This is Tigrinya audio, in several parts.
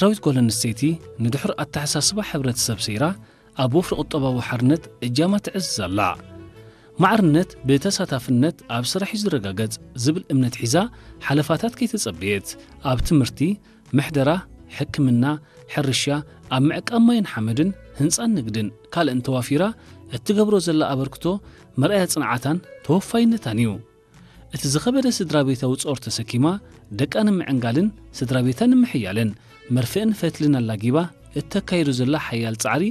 ኤርትራዊት ጓል ኣንስተይቲ ንድሑር ኣተሓሳስባ ሕብረተሰብ ሰይራ ኣብ ወፍሪ ቁጠባዊ ሓርነት እጃማ ትዕዝዝ ኣላ። ማዕርነት ብተሳታፍነት ኣብ ስራሕ እዩ ዝረጋገጽ ዝብል እምነት ሒዛ ሓለፋታት ከይተጸበየት ኣብ ትምህርቲ፣ ምሕደራ፣ ሕክምና፣ ሕርሻ፣ ኣብ ምዕቃብ ማይን ሓመድን፣ ህንጻን ንግድን ካልእን ተዋፊራ እትገብሮ ዘላ ኣበርክቶ መርኣያ ጽንዓታን ተወፋይነታን እዩ። እቲ ዝኸበደ ስድራ ቤታዊ ጾር ተሰኪማ ደቃ ንምዕንጋልን ስድራ ቤታ ንምሕያልን መርፍእን ፈትልን ኣላጊባ እተካይዶ ዘላ ሓያል ጻዕሪ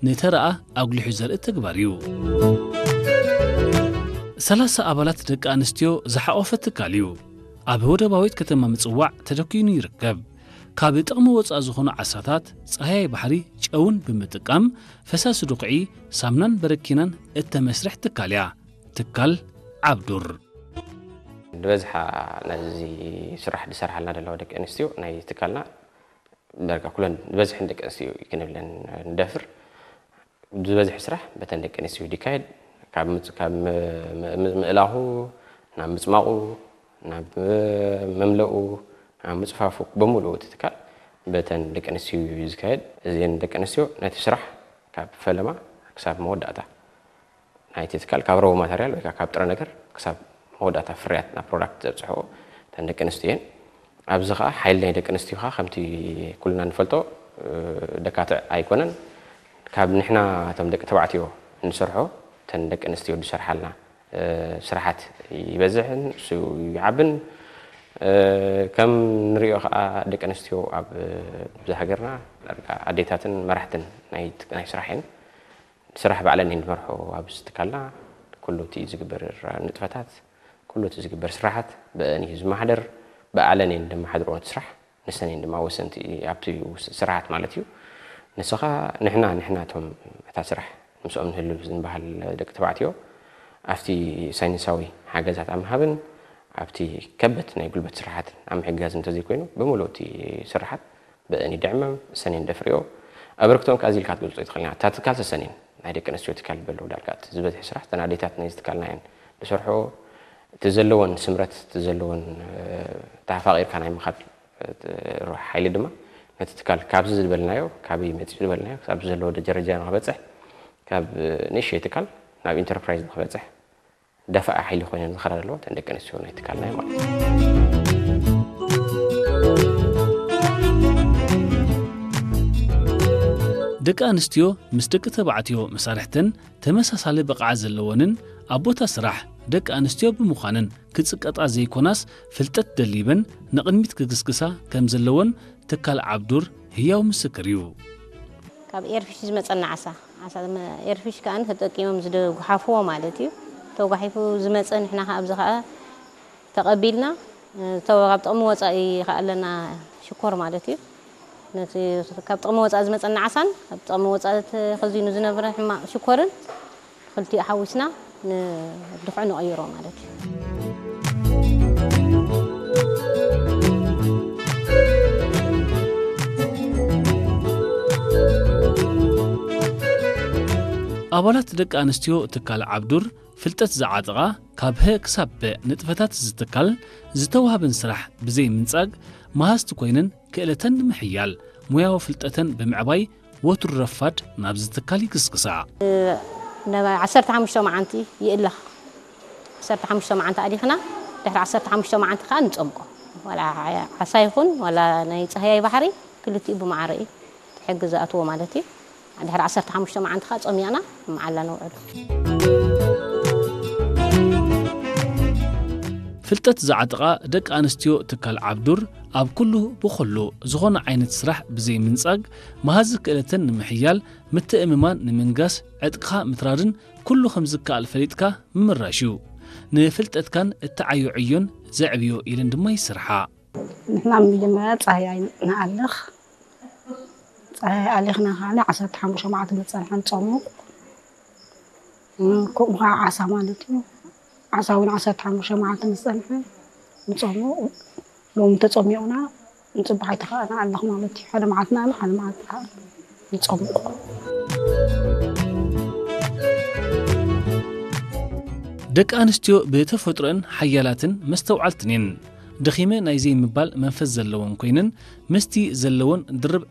ንተረኣ ኣጉሊሑ ዘርኢ ተግባር እዩ። ሰላሳ ኣባላት ደቂ ኣንስትዮ ዝሓቖፈ ትካል እዩ። ኣብ ወደባዊት ከተማ ምጽዋዕ ተደኲኑ ይርከብ። ካብ ጥቕሚ ወጻኢ ዝኾኑ ዓሳታት፣ ጸሃያይ ባሕሪ፣ ጨውን ብምጥቃም ፈሳሲ ድኹዒ፣ ሳምናን በረኪናን እተመስርሕ ትካል እያ። ትካል ዓብዱር። ዝበዝሓ ነዚ ስራሕ ዝሰርሓልና ዘለዋ ደቂ ኣንስትዮ ናይ ትካልና ዳርጋ ኩለን ዝበዝሐን ደቂ ኣንስትዮ እዩ ክንብለን ንደፍር። ዝበዝሕ ስራሕ በተን ደቂ ኣንስትዮ ይካየድ። ካብ ምጽ-፣ ካብ ም-፣ ም-፣ ምእላኹ፣ ናብ ምጽማቑ፣ ናብ መምለኡ፣ ናብ ምጽፋፉ፣ ብምሉኡ እቲ ትካል በተን ደቂ ኣንስትዮ እዩ ዝካየድ። እዚአን ደቂ ኣንስትዮ ነቲ ስራሕ ካብ ፈለማ ክሳብ መወዳእታ ናይቲ ትካል፣ ካብ ረቡ ማተርያል ወይ ከዓ ካብ ጥረ ነገር ክሳብ መወዳእታ ፍርያት ናብ ፕሮዳክት ዘብፅሕኦ እተን ደቂ ኣንስትዮ እየን። ኣብዚ ከዓ ሓይሊ ናይ ደቂ ኣንስትዮ ከዓ ከምቲ ኩልና ንፈልጦ፣ እ፣ ደካትዕ ኣይኮነን። ካብ ንሕና እቶም ደቂ ተባዕትዮ እንሰርሖ እተን ደቂ ኣንስትዮ ዝሰርሓልና፣ እ፣ ስራሓት ይበዝሕን እሱ ይዓብን። እ፣ ከም ንሪኦ ከዓ ደቂ ኣንስትዮ ኣብ፣ እ፣ ብዛ ሃገርና ዳርጋ ኣዴታትን መራሕትን ናይ፣ ናይ ስራሕ እየን። ስራሕ ባዕለን እየን ዝመርሖ ኣብዚ ትካልና። ኩሉ እቲ ዝግበር ንጥፈታት፣ ኩሉ እቲ ዝግበር ስራሓት ብአን እዩ ዝመሓደር። ብኣለን እየን ደመሓድርኦ እቲ ስራሕ። ንሰን እየን ድማ ወሰንቲ ኣብቲ ውስ-፣ ስራሓት ማለት እዩ። ንስኻ ንሕና፣ ንሕና እቶም እታ ስራሕ ምስኦም ንህልው ዝንበሃል ደቂ ተባዕትዮ ኣብቲ ሳይንሳዊ ሓገዛት ኣብ ምሃብን ኣብቲ ከበድ ናይ ጉልበት ስራሓትን ኣብ ምሕጋዝ እንተዘይኮይኑ ብምሉእ እቲ ስራሓት ብእኒ ድዕመም ሰኔን ደፍርዮ ኣበርክቶን ከኣ እዚልካ ትገልጾ ይትኽእልና። እታ ትካል ሰሰኔን ናይ ደቂ ኣንስትዮ ትካል በሎ ዳርጋ እቲ ዝበዝሕ ስራሕ እተን ኣዴታት ናይዚ ትካልና እየን ዝሰርሖ። እቲ ዘለወን ስምረት፣ እቲ ዘለወን፣ እ፣ ተፋቒርካ ናይ ምኻድ፣ እ፣ ሓይሊ ድማ ነቲ ትካል ካብዚ ዝበልናዮ፣ ካበይ መጺኡ ዝበልናዮ፣ ክሳብ ዘለዎ ደረጃ ንኽበጽሕ፣ ካብ፣ እ፣ ንእሽተይ ትካል ናብ ኢንተርፕራይዝ ንኽበጽሕ ደፋኢ ሓይሊ ኮይነን ዝኸዳ ዘለዋ እተን ደቂ ኣንስትዮ ናይ ትካልና እዩ ማለት እዩ። ደቂ ኣንስትዮ ምስ ደቂ ተባዕትዮ መሳርሕተን ተመሳሳሊ ብቕዓት ዘለወንን ኣብ ቦታ ስራሕ ደቂ ኣንስትዮ ብምዃነን ክጽቀጣ ዘይኮናስ ፍልጠት ደሊበን ንቕድሚት ክግስግሳ ከም ዘለወን ትካል ዓብዱር ህያው ምስክር እዩ። ካብ ኤርፊሽ ዝመጸና ዓሳ፣ ዓሳ ዝመ-፣ ኤርፊሽ ከኣ ተጠቂሞም ዝደ-፣ ዝጓሓፍዎ ማለት እዩ። ተጓሒፉ ዝመጸ ንሕና ከኣ ኣብዚ ከኣ ተቐቢልና፣ እ፣ ተወ-፣ ካብ ጥቕሚ ወጻኢ ከኣ ኣለና ሽኮር ማለት እዩ። ነቲ ካብ ጥቕሚ ወጻኢ ዝመጸና ዓሳን ካብ ጥቕሚ ወጻኢ ተኸዚኑ ዝነበረ ሕማቕ ሽኮርን ክልቲኡ ሓዊስና ንድኹዒ ንቐይሮ ማለት እዩ። ኣባላት ደቂ ኣንስትዮ ትካል ዓብዱር ፍልጠት ዝዓጠቓ ካብ ሀ ክሳብ ፐ ንጥፈታት ዝትካል ዝተዋህበን ስራሕ ብዘይ ምንጻግ መሃዝቲ ኮይነን ክእለተን ንምሕያል ሞያዊ ፍልጠተን ብምዕባይ ወትሩ ረፋድ ናብዚ ትካል ይግስግሳ። ናብ ዓሰርተ ሓሙሽተ መዓንቲ ይእለኽ። ዓሰርተ ሓሙሽተ መዓንቲ ኣሊኽና፣ ድሕሪ ዓሰርተ ሓሙሽተ መዓንቲ ከኣ ንጸምቆ። ዋላ ዓሳ ይኹን፣ ዋላ ናይ ጻህያይ ባሕሪ፣ ክልቲኡ ብማዕረ እዩ። እቲ ሕጊ ዝኣትዎ ማለት እዩ። ድሕሪ ዓሰርተ ሓሙሽተ መዓንቲ ከኣ ጸሚቕና መዓላ ነውዕሎ። ፍልጠት ዝዓጥቓ ደቂ ኣንስትዮ ትካል ዓብዱር ኣብ ኩሉ ብኹሉ ዝኾነ ዓይነት ስራሕ ብዘይ ምንጻግ መሃዚ ክእለተን ንምሕያል ምትእምማን ንምንጋስ ዕጥቅኻ ምትራርን ኩሉ ከም ዝከኣል ፈሊጥካ ምምራሽ እዩ። ንፍልጠትካን እትዓዮ ዕዮን ዘዕብዮ ኢለን ድማ ይስርሓ። ንሕና መጀመርያ ጻህያይ ንኣልኽ። ጻህያይ ኣሊኽና ከዓኒ ዓሰርተ ሓሙሽተ መዓልቲ ንጸንሐ ንጸሙቕ። እም፣ ከምኡ ኸዓ ዓሳ ማለት እዩ። ዓሳ እውን ዓሰርተ ሓሙሽተ መዓልቲ ምስ ጸንሐ ንጸሙቕ። ሎሚ ተጸሚቑና ንጽባሕ ኣይተኸኣና ኣለኹ ማለት እዩ። ሓደ መዓልቲ ንኣልኽ፣ ሓደ መዓልቲ ከኣ ንጸሙቕ። ደቂ ኣንስትዮ ብተፈጥሮአን ሓያላትን መስተውዓልትን እየን። ደኺመ ናይ ዘይምባል መንፈስ ዘለወን ኮይነን፣ ምስቲ ዘለወን ድርብ